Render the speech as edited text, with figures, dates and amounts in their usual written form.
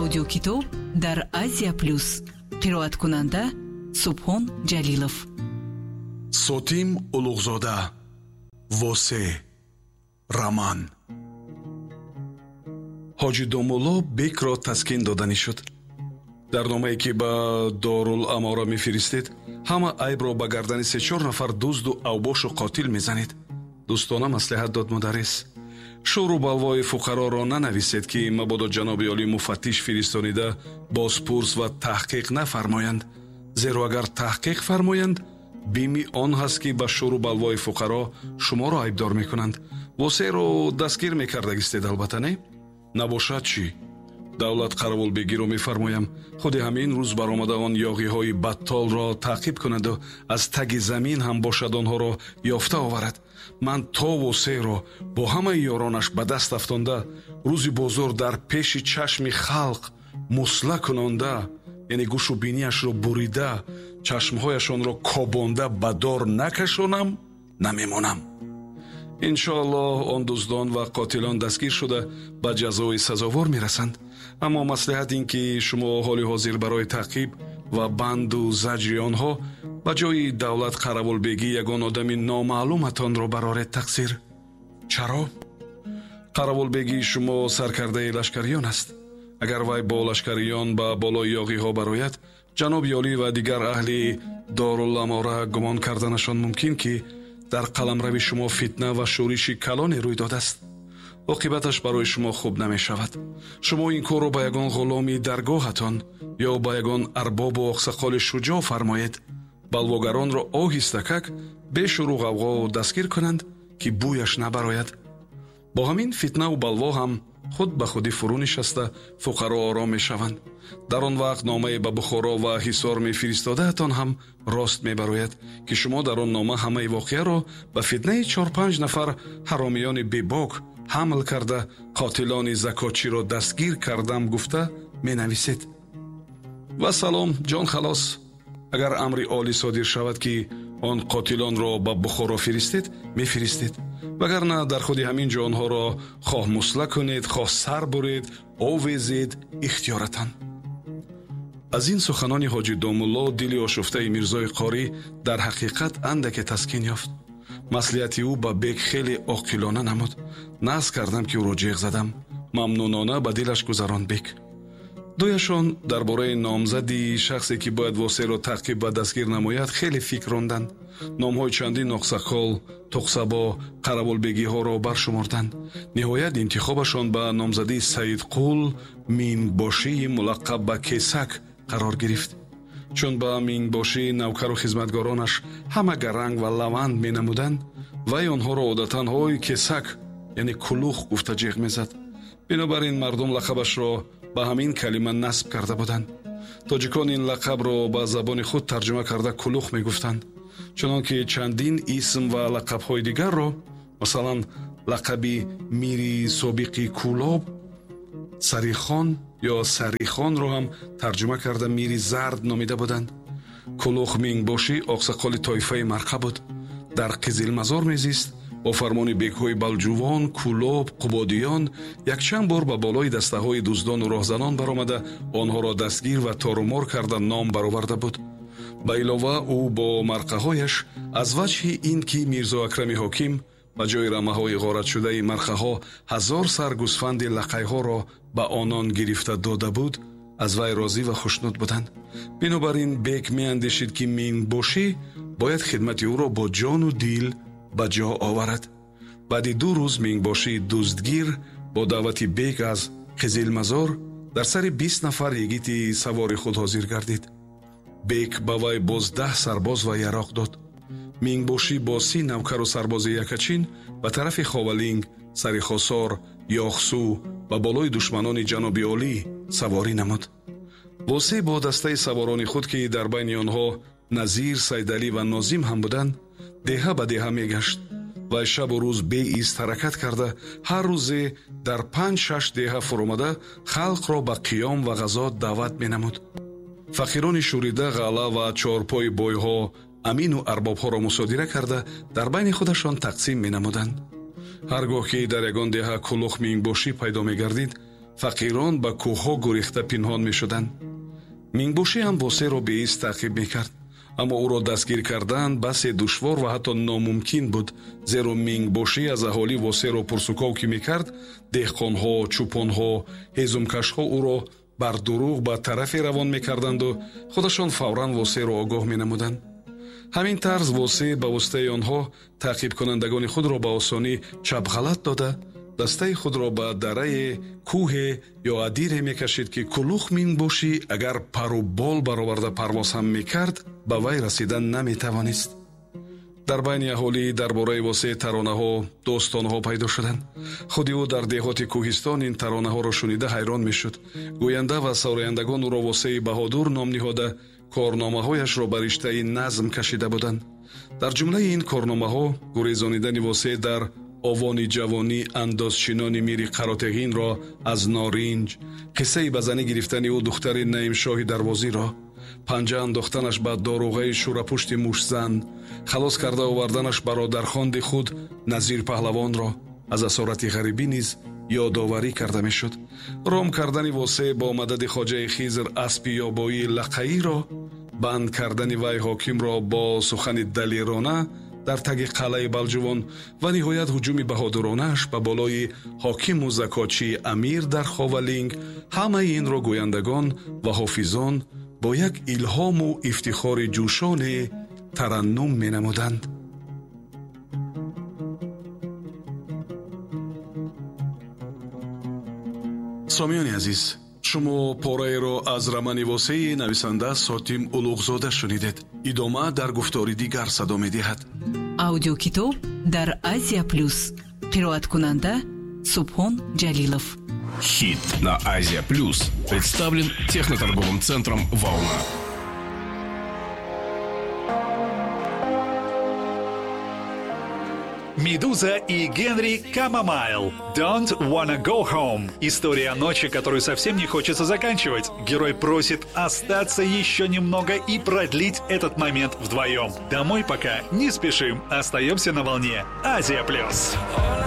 Аудиокитоб дар Азия Плюс. Қироаткунанда Субҳон Ҷалилов. Сотим Улуғзода. Восе. Роман. Ҳоҷи Домулло бекро таскин доданӣ шуд. Дар номае, ки ба Дорул-Амора мефиристед, ҳама айбро ба гардани се-чор нафар дузду авбошу қотил мезанед. Дӯстона маслиҳат дод мударрис. Шӯру балвои фуқароро нанависед, ки мабодо ҷаноби олӣ муфаттиш фиристонида бозпурс ва таҳқиқ нафармоянд. Зеро агар таҳқиқ фармоянд, бими он ҳаст, ки ба шӯру балвои фуқаро шуморо айбдор мекунанд. Восеро дастгир мекардагистед, албатта, не? Набошад чӣ? Давлат қаравулбегиро мефармоям, худи ҳамин рӯз баромада он ёғиҳои баттолро таъқиб кунаду аз таги замин ҳам бошад, онҳоро ёфта оварад. Ман то Восеро бо ҳамаи ёронаш ба даст афтонда, рӯзи бозор дар пеши чашми халқ мусла кунонда, яъне гӯшу бинияшро бурида, чашмҳояшонро кобонда ба дор накашонам, намемонам. Иншоаллоҳ, он дуздон ва қотилон дастгир шуда, ба ҷазои сазовор мерасанд. Аммо маслиҳат ин, ки шумо ҳоли ҳозир барои таъқиб ва банду заҷри онҳо ба ҷои Давлат Қаравулбегӣ ягон одами номаълуматонро бароред, тақсир. Чаро? Қаравулбегии шумо саркардаи лашкариён аст. Агар вай бо лашкариён ба болои ёғиҳо барояд, ҷаноби олӣ ва дигар аҳли Доруламора гумон карданашон мумкин, ки дар қаламрави шумо фитна ва шӯриши калоне рӯй додааст. Оқибаташ барои шумо хуб намешавад. Шумо ин корро ба ягон ғуломи даргоҳатон ё ба ягон арбобу оқсақоли шуҷоъ фармоед. Балвогаронро оҳистакак бешӯру ғавғо дастгир кунанд, ки бӯяш набарояд. Бо ҳамин фитнаву балво ҳам худ ба худӣ фурӯ нишаста, фуқаро ором мешаванд. Дар он вақт номае ба Бухоро ва Ҳисор мефиристодаатон ҳам рост мебарояд, ки шумо дар он нома ҳамаи воқеаро ба фитнаи чор-панҷ нафар ҳаромиёни бебок ҳамл карда, қотилони закотчиро дастгир кардам гуфта менависед. Ва салом, ҷон халос. Агар амри олӣ содир шавад, ки он қотилонро ба Бухоро фиристед, мефиристед. Вагарна дар худи ҳамин ҷо онҳоро хоҳ мусла кунед, хоҳ сар буред, овезед, ихтиёратан. Аз ин суханони ҳоҷи Домулло дили ошуфтаи Мирзои Қорӣ дар ҳақиқат андаке таскин ёфт. Маслиҳати ӯ ба бек хеле оқилона намуд. Наз кардам, ки ӯро ҷеғ задам. Мамнунона ба дилаш гузаронд бек. Дуяшон дар бораи номзади шахсе, ки бояд Восеро таъқиб ва дастгир намояд, хеле фикр ронданд. Номҳои чандин оқсақол, тоқсабо, қаравулбегиҳоро баршуморданд. Ниҳоят интихобашон ба номзадии Саидқул Мингбошии мулаққаб ба Кесак қарор гирифт. Чун ба Мингбошӣ навкару хизматгоронаш ҳама гаранг ва лаванд менамуданд, вай онҳоро одатан «ҳой, Кесак», яъне кулух гуфта ҷеғ мезад. Бинобар ин мардум лақабашро ба ҳамин калима насб карда буданд. Тоҷикон ин лақабро ба забони худ тарҷума карда, кулух мегуфтанд. Чунон ки чандин исм ва лақабҳои дигарро, масалан, лақаби мири собиқи Кӯлоб Сарихон ё Сарихонро ҳам тарҷума карда, мири Зард номида буданд. Кулух Мингбошӣ оқсақоли тоифаи Марқа буд. Дар Қизилмазор мезист. Бо фармони бекҳои Балҷувон, Кӯлоб, Қубодиён якчанд бор ба болои дастаҳои дуздону роҳзанон баромада, онҳоро дастгир ва торумор карда ном бароварда буд. Ба илова, ӯ бо марқаҳояш аз ваҷҳи ин ки Мирзо Акрами ҳоким ба ҷои рамаҳои ғоратшудаи марқаҳо 1000 сар гӯсфанди лақайҳоро ба онон гирифта дода буд, аз вай розӣ ва хушнуд буданд. Бинобар ин бек меандешид, ки Мингбошӣ бояд хидмати ӯро бо ҷону дил ба ҷо оварад. Баъди 2 рӯз Мингбошии дуздгир бо даъвати бек аз Қизилмазор дар сари 20 нафар йигити савори худ ҳозир гардид. Бек ба вай боз 10 сарбоз ва яроқ дод. Мингбошӣ бо 30 навкару сарбози якачин ба тарафи Ховалинг, сари Хосор, Ёхсу ба болои душманони ҷаноби олӣ саворӣ намуд. Восе бо дастаи саворони худ, ки дар байни онҳо Назир, Сайдалӣ ва Нозим ҳам буданд, деҳа ба деҳа мегашт. Вай шабу рӯз беист ҳаракат карда, ҳар рӯзе дар панҷ-шаш деҳа фуромада, халқро ба қиём ва ғазо даъват менамуд. Фақирони шӯрида ғалла ва чорпои бойҳо, амину арбобҳоро мусодира карда, дар байни худашон тақсим менамуданд. Ҳар гоҳ ки дар ягон деҳа Кулух Мингбошӣ пайдо мегардид, Фақирон ба кӯҳҳо гурехта пинҳон мешуданд. Мингбошӣ ҳам Восеъро беист таъқиб мекард, аммо ӯро дастгир кардан басе душвор ва ҳатто номумкин буд, зеро мингбошӣ аз аҳолӣ Восеъро пурсуков ки мекард, деҳқонҳо, чӯпонҳо, ҳезумкашҳо ӯро бар дурӯғ ба тарафе равон мекарданду худашон фавран Восеъро огоҳ менамуданд. Ҳамин тарз Восеъ ба воситаи онҳо таъқибкунандагони худро ба осонӣ чапғалат дода, дастаи худро ба дарае, кӯҳе ё адире мекашид, ки кулух мингбошӣ агар пару бол бароварда парвоз ҳам мекард, ба вай расидан наметавонист. Дар байни аҳолӣ дар бораи Восеъ таронаҳо, достонҳо пайдо шуданд. Худи ӯ дар деҳоти кӯҳистон ин таронаҳоро шунида ҳайрон мешуд. Гӯянда ва сарояндагон ӯро Восеи Баҳодур ном ниҳода, корномаҳояшро ба риштаи назм кашида буданд. Дар ҷумлаи ин корномаҳо гурезонидани Восеъ дар овони ҷавонӣ андозчинони мири Қаротеғинро аз норинҷ, қиссаи ба занӣ гирифтани ӯ духтари Наимшоҳи Дарвозиро, панҷа андохтанаш ба доруғаи шӯрапушти мушзан, халос карда оварданаш бародархонди худ Назир Паҳлавонро аз асорати ғарибӣ низ ёдоварӣ карда мешуд. Ром кардани Восеъ бо мадади хоҷаи Хизр аспи ёбоии лақаиро, банд кардани вай ҳокимро бо сухани далерона дар таги қалъаи Балҷувон ва ниҳоят ҳуҷуми баҳодуронааш ба болои ҳокиму закотчии амир дар Ховалинг, ҳамаи инро гӯяндагон ва ҳофизон бо як илҳому ифтихори ҷӯшоне тараннум менамуданд. Сомиёни азиз, шумо пораеро аз романи Восеи нависанда Сотим Улуғзода шунидед. Идома дар гуфтори дигар садо медиҳад. Аудиокитоб дар Азия Плюс. Қироаткунанда Субҳон Ҷалилов. Хит на Азия Плюс представлен техноторговым центром «Волна». Медуза и Генри Камомайл. Don't wanna go home. История о ночи, которую совсем не хочется заканчивать. Герой просит остаться еще немного и продлить этот момент вдвоем. Домой пока не спешим. Остаемся на волне Азия Плюс.